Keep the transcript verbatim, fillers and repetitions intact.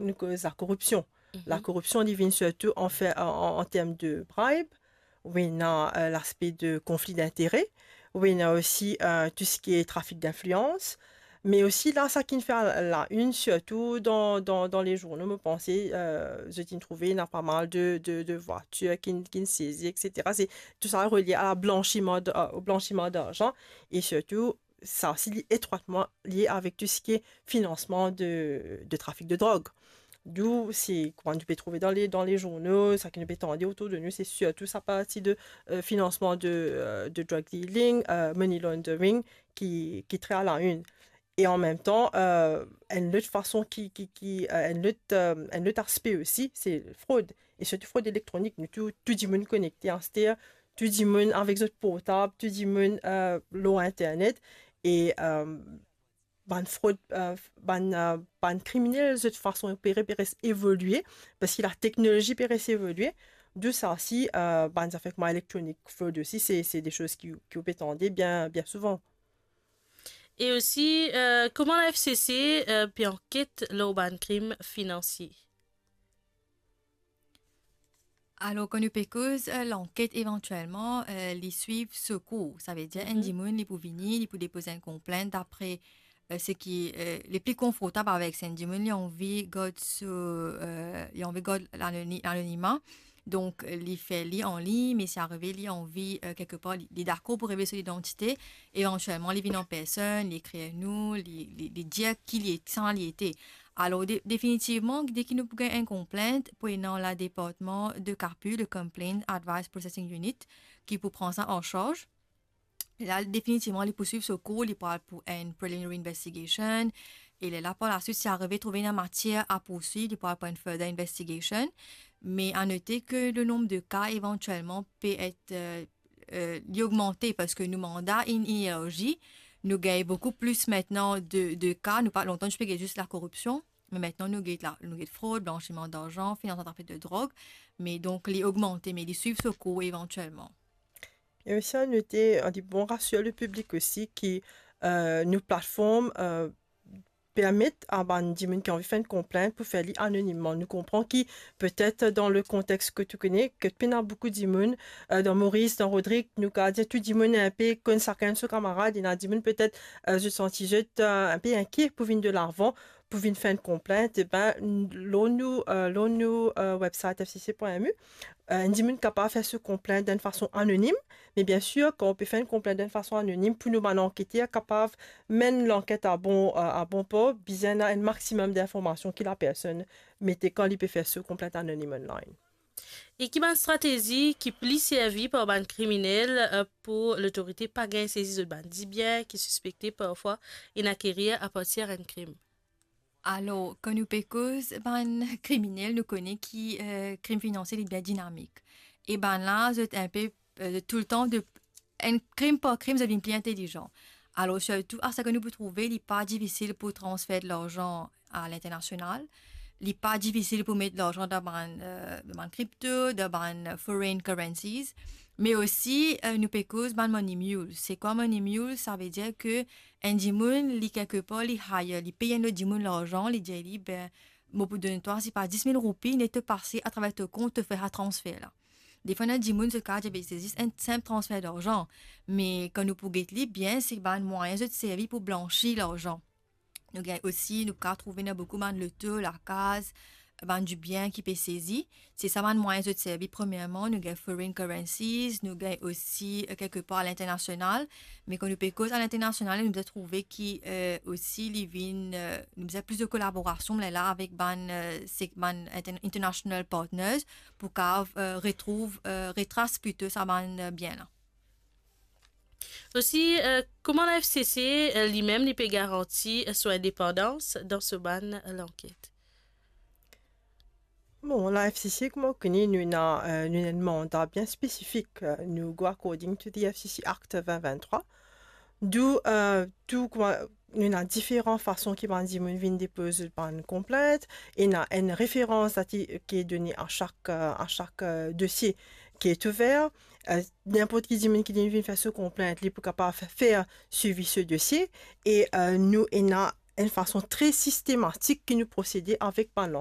nou koz lakoripsion. Mhm. Lakoripsion, li vinn sirtou an fer, an, an, an term de bribe, ou ena, euh, laspe de konfli dintere, ou ena osi, euh, tou seki trafik dinflians, me osi la, sa ki finn fer la, la une, sirtou dan, dan, dan lezourno, mo panse, euh, zot inn trouve ena pa mal de, de, de vwatir ki, ki sezi, et cetera. Se, tou sa relie a blanchiman d-, euh, au blanchiman d'argent, e sirtou, sa osi, li etrwatman lie avek tou seki finansman de, de trafik de drog. Dou, se, kouma nou pe trouve dan le, dan lezourno, sa ki nou pe tande otour de nou, se sirtou sa parti de, euh, finansman de, euh, de drug dealing, euh, money laundering, ki, ki tre a la une. E an mem tan, euh, enn lot fason ki, ki, ki, euh, enn lot, euh, enn lot aspe osi, se frod. E sirtou frod elektronik. Nou tou, tou dimoun konekte aster, tou dimoun avek zot portab, tou dimoun, euh, lor internet. E, euh, bann frod, euh, bann, euh, bann kriminel, zot fason opere pe res evolie, parski lateknolozi pe res evolie. Dou sa osi, euh, bann zafer kouma elektronik frod osi, se, se de soz ki, ki ou pe tande bien, bien souvan. E osi, euh, kouma la F C C, euh, pe anket lor bann krim finansie? Alor, kan nou pe koz, euh, lanket, evantielman, euh, li swiv so kour. Savedir, enn dimoun, li pou vini, li pou depoz enn konplint dapre, euh, seki, euh, li pli konfortab avek. Si enn dimoun, li anvi gard so, euh, li anvi gard lanoni-, lanonima, donk, euh, li fer li anlign, me si arive li anvi, euh, kelkepar, li, li dakor pou revel so lidantite, evantielman, li vinn an personn, li ekrir nou, li, li, li dir ki li, kisannla li ete. Alor, de-, definitivman, deki nou pou gagn enn konplint, pou ena ladepartman de CAPU, le Complaint Advice Processing Unit, ki pou pran sa an sarz. La, definitivman, li pou swiv so kour, li pou al pou enn preliminary investigation. E lerla, par laswit, si arive trouve ena matier a pourswiv, li pou al pou enn further investigation. Me a note ke le nonb de ka evantielman pe et, euh, euh, li ogmante parski nou manda inn, inn elarzi. Nou gagn boukou plis aster de, de ka. Nou pa, lontan nou ti pe gagn zis lakoripsion, me aster nou gagn la, nou gagn frod, blanchiman darzan, finansman trafik de drog. Me donk, li ogmante, me li swiv so kour evantielman. E osi, a note, a di bon, rasir le piblik osi ki, euh, nou platform, euh, permet a bann dimoun ki anvi fer enn konplint pou fer li anonimman. Nou konpran ki petet dan le kontex kot ou kone, kot pena boukou dimoun, euh, dan Moris, dan Rodrig, nou kapav dir tou dimoun inpe konn sakenn so kamarad, ena dimoun petet, euh, zot santi zot, euh, inpe inkie pou vinn delavan, pou vinn fer enn konplint, e ben, lor nou, euh, lor nou, euh, website F C C point M U, euh, enn dimoun kapav fer so konplint dan enn fason anonim, me biensir, kan ou pe fer enn konplint dan enn fason anonim, pou nou bann anketer kapav menn lanket a bon, euh, a bon port, bizin ena enn maximum d'informasion ki lapersonn mete kan li pe fer so konplint anonim online. E ki bann stratezi ki pli servi par bann kriminel, euh, pou lotorite pa gagn sezi zot bann dibien ki sispekte parfwa inn akerir apartir enn krim? Alor, kan nou pe koz bann kriminel, nou kone ki, euh, krim finansie li bien dinamik. E bannla, zot inpe, euh, toultan de, enn krim par krim, zot vinn pli intelizan. Alor, sirtou, a sa ki nou pou trouve, li pa difisil pou transfer larzan a linternasional. Li pa difisil pou met larzan dan bann, euh, bann kripto, dan bann foreign currencies. Me osi, euh, nou pe koz bann money mules. Se kwa money mules? Savedir ke enn dimoun, li kelkepar, li hire, li pey enn lot dimoun larzan, li dir li, ben, mo pou donn twa, sipa dis mil roupi, net to pase atraver to kont, to fer sa transfer la. Defwa, ena dimoun, zot kapav dir, be, se zis enn sinp transfer larzan. Me kan nou pou get li bien, se bann mwayin zot servi pou blanshi larzan. Nou gagn osi, nou kapav trouve ena boukou bann loto, lakaz, bann dibien ki pe sezi. Se sa bann mwayin zot servi. Premierman, nou gagn foreign currencies, nou gagn osi, euh, kelkepar a linternasional. Me kan nou pe koz a linternasional, nou bizin trouve ki, euh, osi li vinn, euh, nou bizin plis de kolaborasion, lerla avek bann, euh, se-, bann inter-, international partners pou kapav, euh, retrouv, euh, retras plito sa bann, euh, bien la. Osi, euh, kouma la F C C, euh, limem, li pe garanti, euh, so indepandans dan so bann, euh, lanket? Bon, la F C C, kouma ou kone, nou ena, euh, nou ena enn manda bien spesifik, euh, nou go according to the F C C Act vingt vingt-trois. Dou, euh, tou kouma, nou ena diferan fason ki bann dimoun vinn depoz bann konplint, ena enn referans ki, ki done a sak, euh, a sak, euh, dosie ki ouver. Euh, ninport ki dimoun ki vinn fer so konplint, li pou kapav fer swivi so dosie. E, euh, nou ena enn fason tre sistematik ki nou prosede avek bann lan-,